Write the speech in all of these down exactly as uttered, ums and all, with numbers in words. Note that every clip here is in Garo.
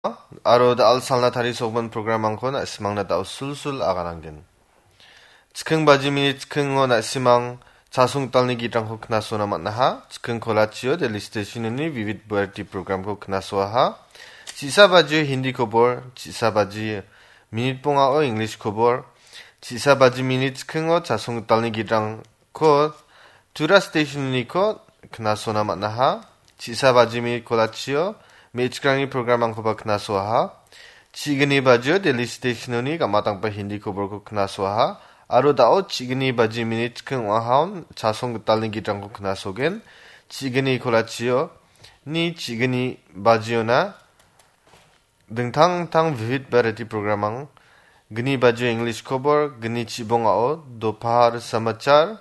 Aro da·al salna tarisogimin programrangko na·simangna da·o sulsul agananggen. Chiking baji minit chikingo na·simang chasong gitalni gitrangko knasona man·aha. Chiking kolachio Delhi Stationoni Vivid Bharati programko knasoaha. Chisa bajio Hindi kobor, chisa baji minit bongao English kobor, chisa baji minit chikingo chasong gitalni gitrangko Tura Stationoniko knasona man·aha. Chisa baji minit kolachio me·chikrangni programrangkoba knasoaha. Chigni bajio Delhi Stationoni gamatangpa Hindi koborko knasoaha. Aro da·o chigni baji minit chiking ong·ahaon chasong gitalni gitrangko knasogen. Chigni kolachio ni chigni bajiona dingtang dingtang Vivid Bharati programrang, gni bajio English kobor, gni chibongao Dophar Samachar,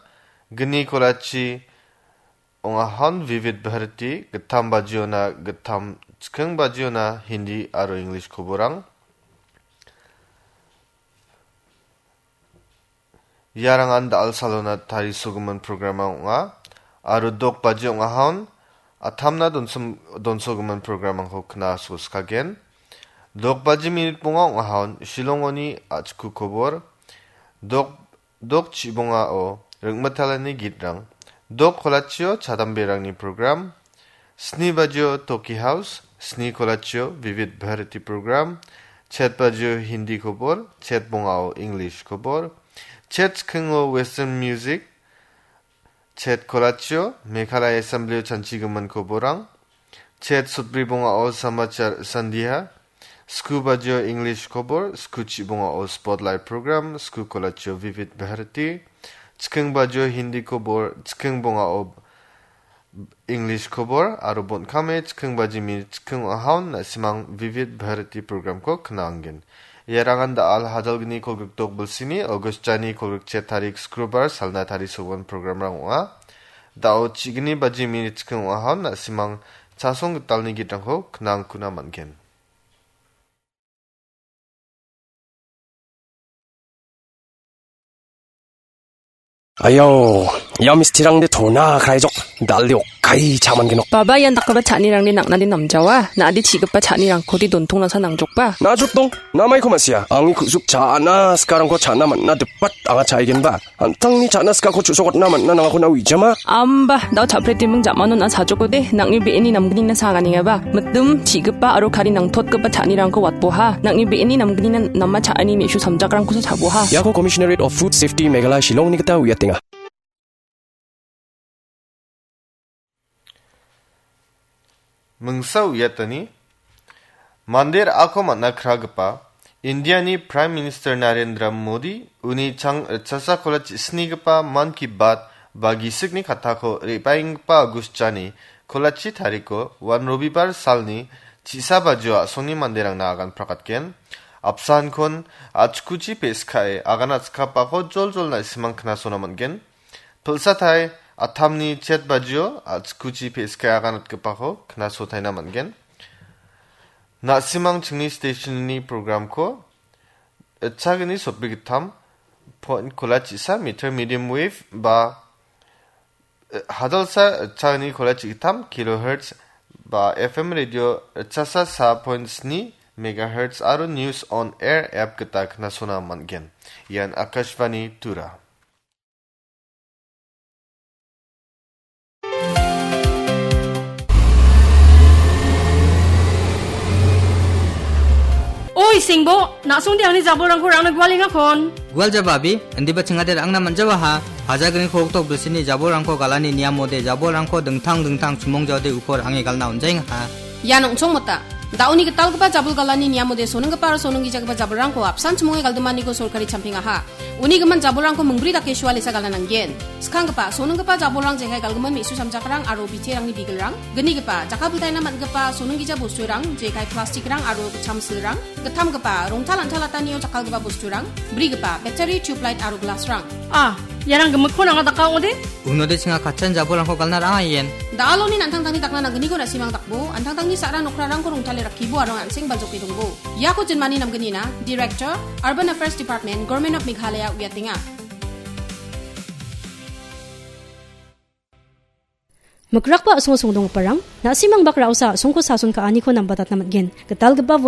gni kolachi ong·ahaon Vivid Bharati, gittam bajiona gittam, chiking bajiona Hindi aro English koborrang. Iarangan da·al salona tarisogimin programrang ong·a. Aro dok baji ong·ahaon atamna donsom-, donsogimin programrangko knaso skagen. Dok baji minit bonga ong·ahaon Shillongoni a·chiku kobor. Dok, dok chibongao ringmitalani gitrang. Dok kolachio chadamberangni program. Sni bajio Toki House, sni kolachio Vivid Bharati program, chet bajio Hindi kobor, chet bongao English kobor, chet chikingo Western music, chet kolachio Meghalaya Assemblyo chanchigimin koborrang, chet sotbri bongao Samachar Sandhya, sku bajio English kobor, sku chibongao Spotlight program, sku kolachio Vivid Bharati, chiking bajio Hindi kobor, chiking bongao English kobor aro bon·kame chiking baji minit chiking ong·ahaon na·simang Vivid Bharati programko knangen. Iarangan da·al hajalgni kolgrikdok bilsini August jani kolgrikchet tarik Skrubar salna tarisogimin programrang ong·a. Da·o chigni baji minit chiking ong·ahaon na·simang chasong gitalni gitrangko knangkuna man·gen. Ayo, ia mistirangde tona kraijok, dal·de okai cha·mangenok. Baba, ian dakgipa cha·anirangde nang·nade namjawa, na·ade chi·gipa cha·nirangkode dontongnasa nangjokba? Najrotdong, namaiko ma·sia, angni ku·suk cha·na sikarangko cha·na man·na dipat anga cha·aigenba. An·tangni cha·na sikako chu·sokatna man·na nangako na uijama? Amba, da·o cha·pretiming ja·mano na·a chajokode, nang·ni be·eni namgnina sa anganengaba. Mitim, chi·gipa aro kari nangtotgipa cha·anirangko watboha. Nang·ni be·eni namgnina nama cha·ani me·su samjakrangkosa cha·boha. Iako Commissionerate of Food Safety Meghalaya Shillongni gita uiatenga. Mingsa uiatani, mande ra·ako man·a kragipa Indiani Prime Minister Narendra Modi uni chang ritchasa kola chisnigipa Mann Ki Baat ba gisikni kattako re·baenggipa August jani kolachi tariko wan Robibar salni chisa bajio a·songni manderangna agan prakatgen. Apsankon achkuchi pe·skae agan atskapako joljol na·simang knasona man·gen. Pilsatai atamni chet bajio achkuchi pe·skai aganatgipako knasotaina man·gen. Na·simang chingni stationni programko itchagni sotbri gittam point kola chisa meter medium wave ba, eh, hajalsa itchagni kola chigittam kilohertz ba F M radio itchasa sa point sni megahertz aro News on Air app gita knasona man·gen. Ian Akashvani Tura. Oi, Singbo, na·songde angni jabolrangko rangna gualengakon. Gual jaba, abi, indiba chingade rangna man·jawaha. Hajalgni kolgrikdok bilsini jabolrangko galani niamode jabolrangko dingtang dingtang chimongjaode uko ra·ange galna on·jaengaha. Ian ong·chongmota. Da·oni gitalgipa jabol galani niamode sonenggipa aro sonenggijagipa jabolrangko apsan chimonge galdimaniko sorkari champingaha. Uni gimin jabolrangko mingbri dake sualesa gala nanggen. Skanggipa, sonenggipa jabolrang jekai galgimin me·su samjakrang aro biterangni bigilrang. Gnigipa, jakkalbiltaina man·gipa sonenggija bosturang, jekai plastikrang aro gitcham silrang. Gittamgipa, rongtal an·talatanio jakkalgipa bosturang. Brigipa, battery, tubelight aro glassrang. Ah, iarang gimikkon anga daka ong·ode? Unode chinga katchan jabolrangko galna ra·angaien. Da·aloni an·tangtangni dakna nanggniko na·simang dakbo, an·tangtangni sa·ra nokrarangko rongtale rakkibo aro an·seng baljoke dongbo. Iako jinmani namgnina, Director, Urban Affairs Department, Government of Meghalaya uiatenga. Mikrakba a·songo songdonggiparang, na·simang bak ra·osa a·songko sason ka·aniko nambatatna man·gen. Gitalgipa vote